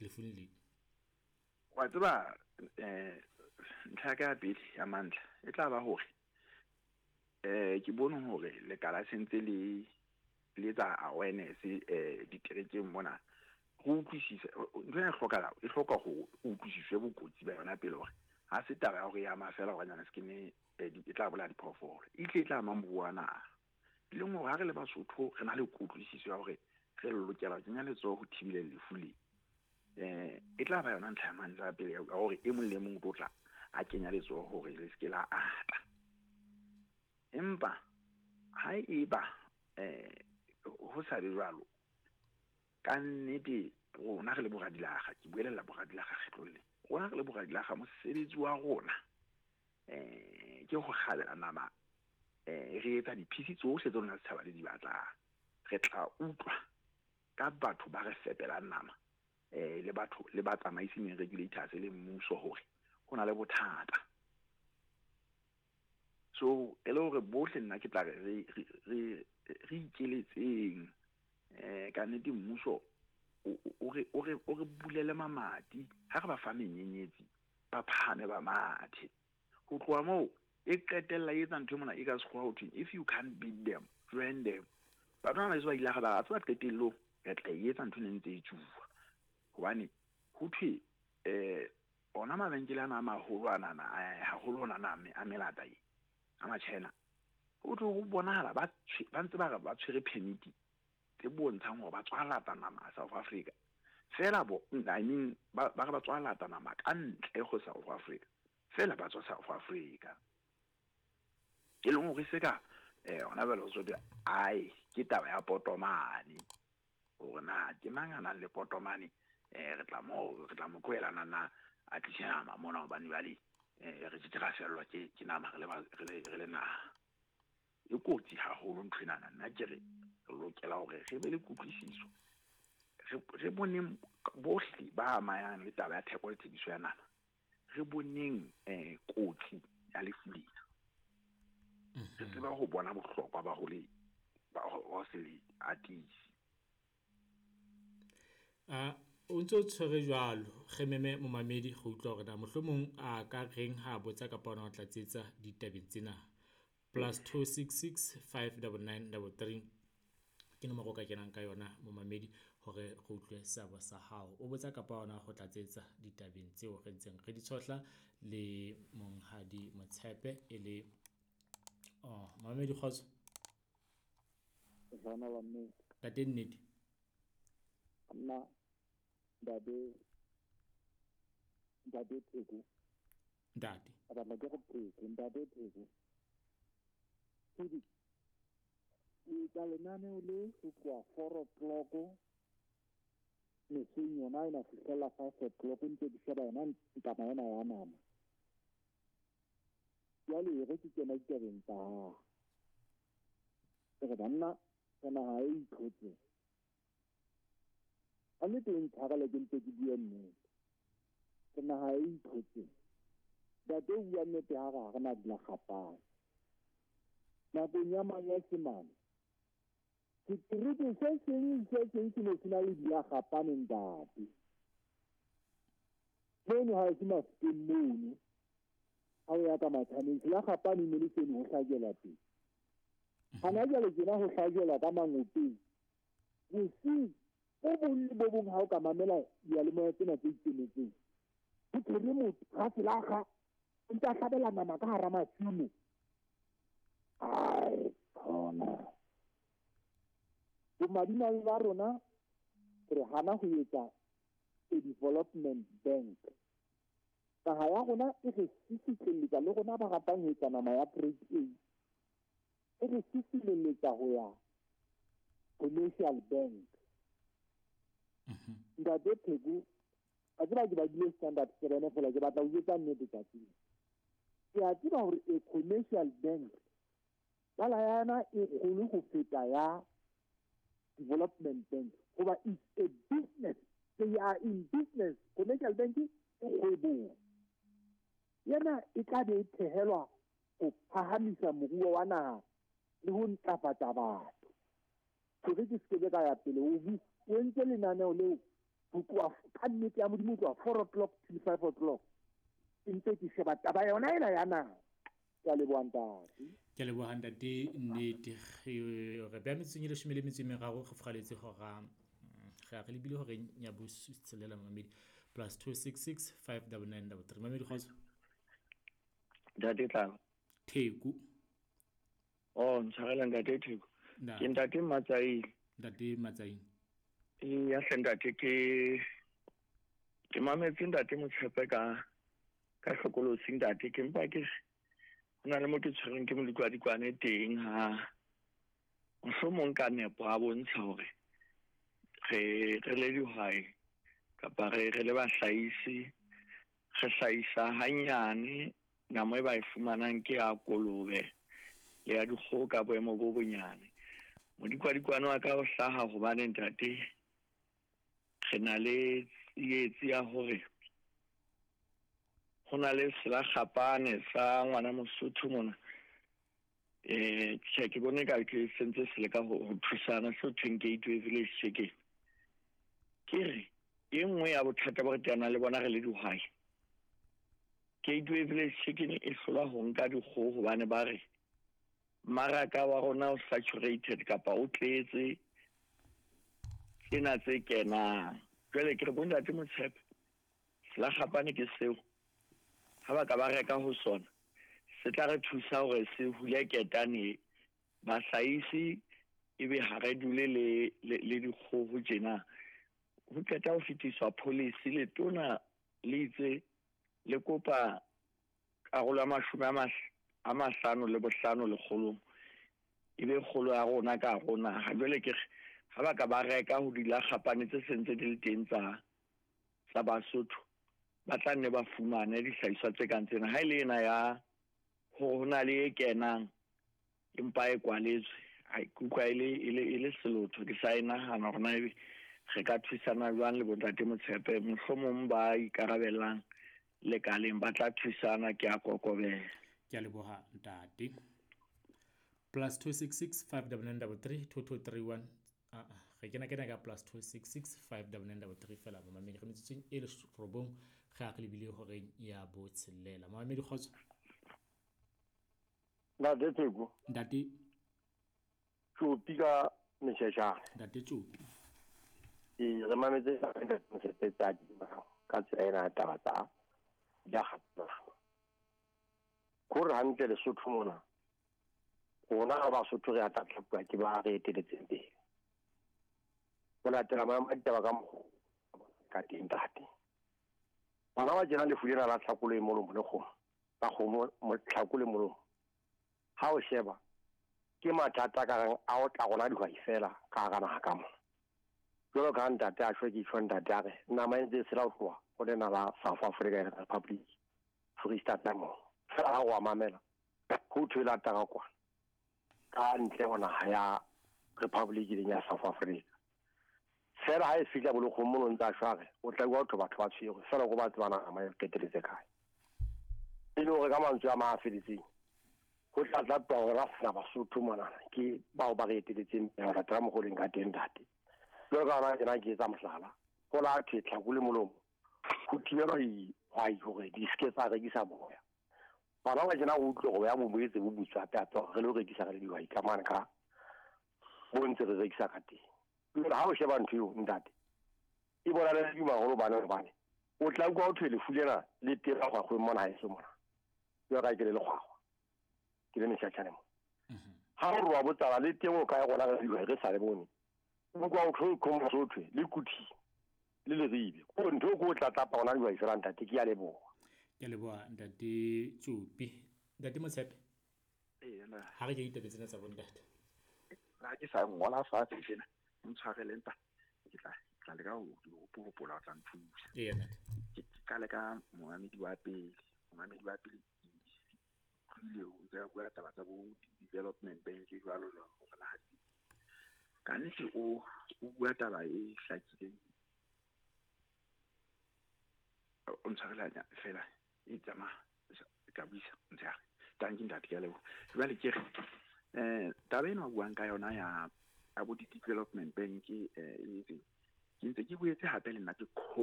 lefung le? Wa tseba ntlha ya ka ya pele ya mantlha e tla ba hore ke bone hore lekala se ntse le le etsa awareness diterekeng mona. Go utlwisisa ntho ena e hlokahala, e hloka ho utlwisiswe bokotsi ba yona pele, hore ha se taba ya hore e ama fela hore nyana se ke ne e tla bolaya diphoofolo, e tle e tla ama moruo wa naha. E leng hore ha re le Basotho re na le kutlwisiso ya hore re lokela ho kenya letsoho ho thibeleng lefu le. E tla ba yona ntlha ya mantlha ya pele ya hore e mong le e mong o tlo tla a kenya letsoho hore le se ke la ata. Empa ha eba ho sa be jwalo, ka nnete rona re le boradilaga, ke buelella boradilaga kgetlong le, rona re le boradilaga mosebetsi wa rona ke ho kgabela nama, re etsa diphisi tsohle tse lona setjhaba le di batlang. Re tla utlwa ka batho ba re fepelang nama, le batho le batsamaisi meng regulators le mmuso hore ho na le bothata. So e le hore bohle nna ke tla re re re ikeletseng, ka nnete mmuso o re bulele mamati ha re ba fa menyenyetsi, ba phahame ba mathe. Ho tloha moo e qetella e etsa ntho e mona e ka sekgowa ho thweng, if you can't beat them, join them. Batho bana ba ba ile ba tseba qetellong re tla e etsa ntho e ntse e tsuwa, hobane ho thwe ona mabenkele ana a maholo anana, haholo ona na a melata e a ma-China, ho thwe ho bonahala ba ntse ba re ba tshwere permit tse bontshang hore ba tswa lata nama South Africa fela, bo I mean ba re ba tswa lata nama ka ntle ho South Africa fela, ba tswa South Africa. E leng hore se ka hona jwale ho tswe ai ke taba ya potomane, hore na ke mang a nang le potomane, re tla mo re tla mo tlohela nana a tlise nama mona, hobane jwale re ke ra fellwa ke nama re le re le naha. E kotsi haholo ntho enana. Nna ke re re lokela hore re be le kutlwisiso, re boneng bohle ba amayang le taba ya theko le thekiso ya nama, re boneng kotsi ya lefu lena, re tseba ho bona bohlokwa ba ho le ba ho se le atise. O ntso tshwere jwalo, re meme momamedi go utlwa hore na mohlomong a ka reng ha botsa kapa ona o tlatsetsa ditabeng tsena. +266 599 33 ke nomoro o ka kenang ka yona momamedi, hore re utlwe seabo sa hao, o botsa kapa ona go tlatsetsa ditabeng tseo re ntseng re di tshohla le monghadi Motshepe. E le oh, momamedi, kgotso. Jana wa nnete. Ntate nnete. Nna ntate Pheko. Ntate. A batla ke go Pheko, ntate Pheko. Ke etsa lenaneo le ho tloha 4 o'clock meseng yona ena fihlela 5 o'clock, ntse ke sheba yona taba ena ya nama. Jwale e re ke kena ditabeng tsa hao. Ke re banna, re naha e itlhotseng. Ka nnete e ntshwarele ke ntse ke bue nnete. Ke naha e itlhotseng. Ntate o bua nnete ha re ha re na dilakgapane. Nakong ya Manyesemane, setereke se seng le se seng se ne se na le dilakgapane, ntate. Mono ha e se Mafikeng mono, ha o ya ka Mathaneng, selakgapane ne le seno ho hlajelwa teng. Hana jwale tjena ho hlajelwa ka mangopeng. Bosiu bo bong le bo bong ha o ka mamela diyalemoya tsena tse ikemetseng, ho tshwere motho raselakga o ntse a hlabela nama ka hara masimo. Ai khona. Bomadimabe ba rona re hana ho etsa a development bank. Naha ya rona e re sisitlelletsa le rona ba ratang ho etsa nama ya grade A. E re sisitlelletsa ho ya commercial bank. Ntate Pheko, a tseba ke badile standard seven fela, ke batla ho jwetsa nnete tsatsing. Ke a tseba hore a commercial bank bala yana e kgolo ho feta ya development bank, hoba it's a business, they are in business. Commercial bank e kgwebong, yena e tla be e thehelwa ho phahamisa moruo wa naha le ho ntlafatsa batho. Hore ke se ke ka ya pele, o entse lenaneo leo ho tloha ka nnete. Nnete ya Modimo, tloha 4 o'clock till 5 o'clock ke ntse ke sheba taba yona ena ya naha. Ke a leboha, ntate. Ke a leboha, ntate Nnete. Re beha metsotsong e 13 re furaletse hora, re a re lebile horeng ya botshelela. Mamedi, +266 59933. Mamedi, kgotso. Ntate Tlala. Theku. Oh, ntshwarela, ntate Theko. Ke ntate Matsaile. Ntate Matsaile. Ee, hle ntate, ke mametse ntate Motshepe ka hlokolosi, ntate. Ke mpa ke ho na le mo ke tshwerweng ke molekwadikwane teng, ha mohlomong ka nepo a bontsha hore re le dihwai kapa re le bahlahisi, re hlahisa hanyane. Nama e ba e fumanang ke ya kolobe le ya dikgoho ka boemo bo bonyane. Modikwadikwane wa ka o hlaha hobane, ntate, re na le tsietsi ya hore ho na le selakgapane sa ngwana Mosotho mona. Tjhe, ke bone ka ke sentse se leka ho thusana seo thweng Gateway Village Chicken. Ke re e nngwe ya bothata bo re teanang le bona re le dihwai, Gateway Village Chicken e hlola ho nka dikgoho hobane ba re mmaraka wa rona o saturated kapa o tletse tsena tse kenang. Jwale ke re, bontate Motshepe, selakgapane ke seo, ha ba ka ba reka ho sona, se tla re thusa hore se hule ketane bahlahisi, ebe ha re dule le dikgoho tjena. Ho qeta ho fetiswa policy, letona le itse le kopa karolo ya 55 lekgolong ebe kgolo ya rona ka hare ho naha. Jwale ke re, ha ba ka ba reka ho dilakgapane tse sentse di le teng tsa Basotho, ba tla nne ba fumane dihlahiswa tse kang tsena. Ha e le ena ya hore ho na le e kenang empa e kwaletswe, ke utlwa e le selotho. Ke sa e nahana hore na ebe re ka thusana jwang le bontate Motshepe, mohlomong ba ikarabellang lekaleng ba tla thusana. Ke a kokobela. Ke a leboha, ntate. +266 59933 2231. Re kena ka +266 59933 fela. Momamedi, re metsotsong e 9 re a re lebile horeng ya botshelela. Momamedi, kgotso. Ntate Theko. Ntate. Tšopi ka Mešešane. Ntate Tšopi. Ee, re mametse Motshepe tsa ka tsela ena ya taba tsa diakgatana kore hantle Lesotho mona, rona ga Basotho re a tlatlapuwa ke ba re eteletseng pele ho latela maemo a ditaba ka mokgo ka teng. Ntate, bana ba tjena, lefu lena la tlhakolo e molomo le kgomo la kgomo, tlhako le molomo, ha o sheba ke mathata ka reng a o tla rona dihwai fela ka hara naha ka mona. Jwalo ka ntate a shwe, ke tjho ntate a re nama e ntse e sela ho tloha ho lena la South Africa Republic, Free State mo fela. Ha o a mamela, ho thwe la tara kwana ka ntle ho naha ya Republic leng ya South Africa fela. Ha e fihla bolokgong mono, ntse a shware, o tla bua batho ba tshwerwe fela ko ba tsebana nama e qeteletse kae. E le hore ka mantswe a mang a felletseng, ho tla tlatwa hore ra sena Basotho monana ke bao ba re eteletseng pele ho latela mokgoleng ka teng. Ntate, jwalo ka hona tjena, ke etsa mohlala, ho la thwe tlhako le molomo ho thibelwa dihwai hore di seke tsa rekisa boya. Bana ba tjena, o utlwe hore ya bo boetse bo butswa hape hape hore re lo rekisa re le dihwai ka mane ka bo ntse re rekisa ka teng. Jwale ha o sheba ntho eo, ntate, e bona le duma haholo bane o tla utlwa ho thwe lefu lena le teng kgwakgweng mona haeso mona. Jwalo ka ke le lekgwakgwa, ke le Mešatšhane mo, ha o re wa botsala le teng o kae, rona re dihwai re sa le bone. Utlwa o thwe Mosotho le Kuthi le Leribe, ko ntho e ko o tlatlapa rona dihwai fela. Ntate, ke a leboha. Ke a leboha, ntate Tšopi. Ntate Motshepe, ha re ke ditaba tsena tsa bontate. Ha ke sa ngola fatshe tjena, ntshwarele ntate, ke tla leka ho hopola, o tla nthusa. Eya, ntate. Ke qale ka momamedi wa pele. Momamedi wa pele utlwile o ntse a bua taba tsa bo development bank jwalo jwalo, hore na ka nnete o bua taba e hlakileng. O ntshwarele fela, e tsamaya ka buisa motshehare. Tanki ntate, ke a leboha. Jwale ke re taba ena o buang ka yona ya bo di-development bank, e etseng ke ntse ke boetse hape le nna ke